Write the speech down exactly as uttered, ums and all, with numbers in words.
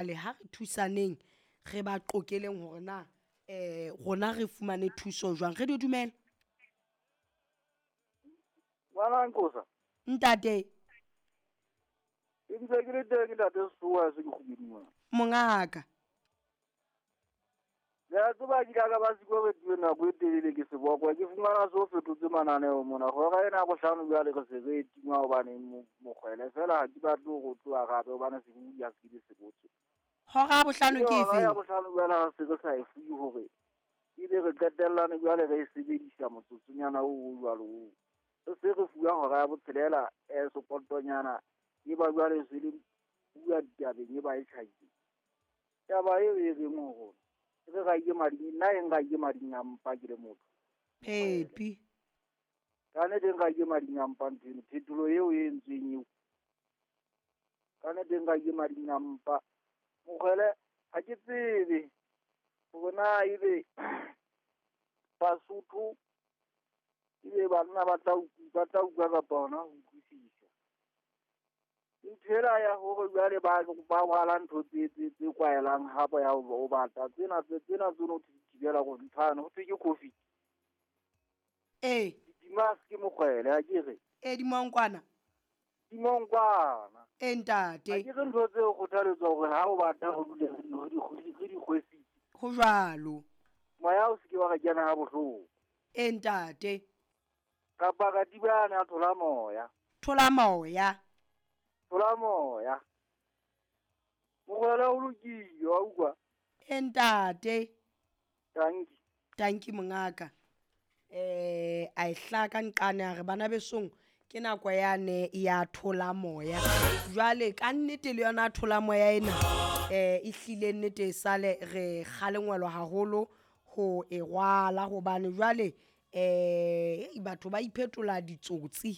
Le ha re thusaneng re ba qokeleng hore na um rona re fumane thuso jwang. Radio, dumela. Ngwana Nqosa. Ntate. Ke ntse ke le teng, ntate Sesoa, se ke kgubedi mona. Mongaka. Le a tseba, ke ka ba siko re tuwe nako e telele ke sebokwa, ke fumana se o fetotse mananeo mona. Hora ena ya bohlano jwale re se re e tima hobane mokgwele fela ha ke batle ho tloha gape hobane se bua se ke se botse. Hora ya bohlano ke Hora efe? ya bohlano jwale ha se re sa e fuwe hore ebe re qetellane jwale re e sebedisa motsotsonyana oo o jwalo oo. Re se re fuwa hora ya botshelela eh sepotonyana e ba jwale se le bua ditabeng e ba e tjhaile. Taba eo e reng ho rona re ra ke mading, nna e nka ke mading a mpa ke le motho. Phepi. Ka nnete nka ke mading a mpa ntho eno, phetolo eo e entsweng eo. Ka nnete nka ke mading a mpa. Mokgwele ha ke tsebe hore na ebe Basotho ebe banna ba tla ba tla utlwa kapa hona ho utlwisisa. Ntho ela ya hore jwale ba ba rwala ntho tse tse tse kwaelang hape ya ho bata tsena tse tsena tse no thibela go nthana ho thwe ke COVID. Ee. Di-mask mokgwele ha ke re. Ee, dimonkwana. Dimonkwana. Ee, ntate. Ha ke re ntho tse kgothaletswa hore ha o bata ho dule re di re di kgwesitse. Ho jwalo. Moya o se ke wa re kena ha bohloko. Ee, ntate. Kapa katiba a thola moya. Thola moya. Thola moya. Mokgwele o lokile wa utlwa. Ee, ntate. Tanki. Tanki mongaka. Eh a e hlaka nqane a re bana besong ke nako yane ya thola moya. Jwale ka nnete le yona thola moya ena eh e hlile nnete e sale re kgalengwelwa haholo ho e rwala hobane jwale eh batho ba iphetola ditsotsi.